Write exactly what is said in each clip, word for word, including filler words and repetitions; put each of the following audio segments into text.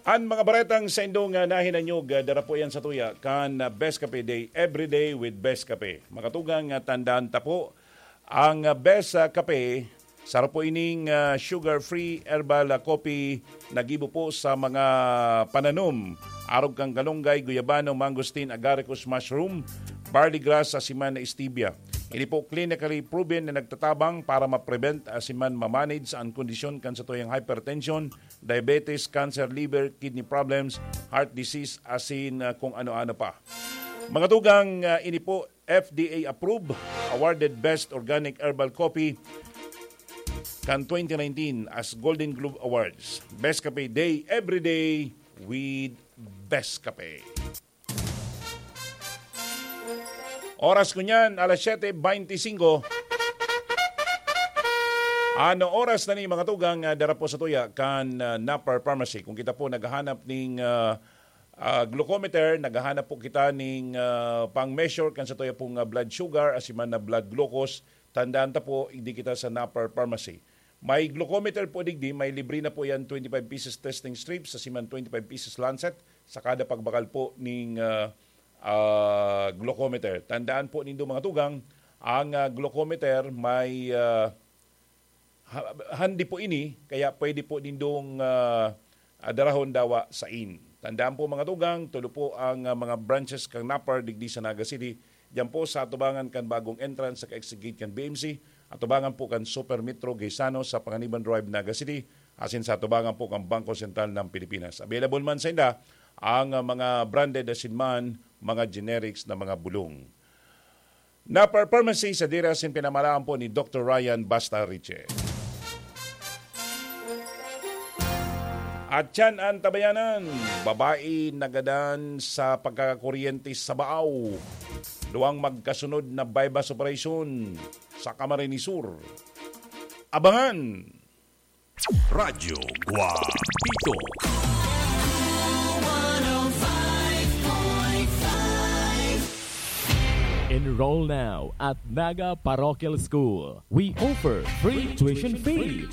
An mga baretang saindong, ah, nahinanyog, ah, dara po yan sa tuya kan, ah, Best Cafe Day, every day with Best Cafe. Mga tugang, ah, tandaan ta po, ang, ah, Best, ah, Cafe, saro po ining, ah, sugar-free herbal, ah, coffee na gibo po sa mga pananom, arog kan kalunggay, guyabano, mangosteen, agaricus mushroom, barley grass, asiman na stevia. Ini po clinically proven na nagtatabang para ma-prevent asiman ma-manage ang kondisyon kan satuyang hypertension, diabetes, cancer, liver, kidney problems, heart disease, asin, ah, kung ano-ano pa. Mga tugang, ah, ini po F D A approved, awarded Best Organic Herbal Coffee kan twenty nineteen as Golden Globe Awards. Best Cafe Day, every day with Best Cafe. Oras ko niyan, alas siyete beintisinko. Ano oras na ni mga tugang, ah, dara po sa tuya kan, ah, Napar Pharmacy? Kung kita po naghahanap ning, ah, ah, glucometer, naghahanap po kita ning, ah, pang-measure kan sa tuya pong, ah, blood sugar, asiman na blood glucose, tandaan ta po, hindi kita sa Napar Pharmacy. May glucometer po digdi, may libre na po yan, twenty-five pieces testing strips, asiman twenty-five pieces lancet, sa kada pagbakal po ning, ah, ah, glucometer. Tandaan po nindo, mga tugang, ang, ah, glucometer may, ah, ha-, handi po ini, kaya pwede po nindong, ah, ah, darahon dawa sain. Tandaan po, mga tugang, tulo po ang, ah, mga branches kan Napar digdi sa Naga City. Diyan po sa atubangan kan bagong entrance sa exit gate kan B M C, atubangan po kan Super Metro Gaisano sa Panganiban Drive, Naga City, asin sa atubangan po kan Bangko Sentral ng Pilipinas. Available man sa inda ang, ah, mga branded asin man mga generics na mga bulong. Napar Pharmacy sa dira sin pinamalaan po ni Doktor Ryan Basta Riche. At yan ang tabayanan, babae nagadan sa pagkakakuryente sa Baao. Duwang magkasunod na buy-bust operation sa Camarines Sur. Abangan! Radyo Guapito. Enroll now at Naga Parochial School. We offer free tuition fee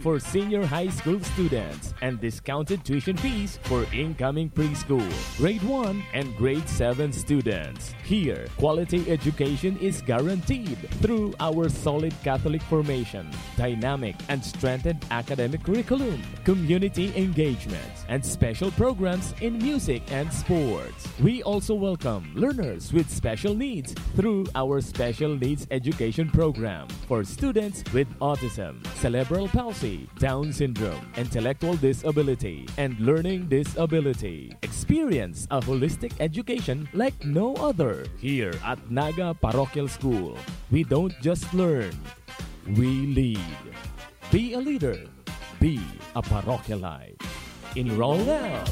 for senior high school students and discounted tuition fees for incoming preschool, grade one, and grade seven students. Here, quality education is guaranteed through our solid Catholic formation, dynamic and strengthened academic curriculum, community engagements, and special programs in music and sports. We also welcome learners with special needs through our Special Needs Education Program for students with autism, cerebral palsy, Down syndrome, intellectual disability, and learning disability. Experience a holistic education like no other. Here at Naga Parochial School, we don't just learn, we lead. Be a leader. Be a parochialite. Enroll now.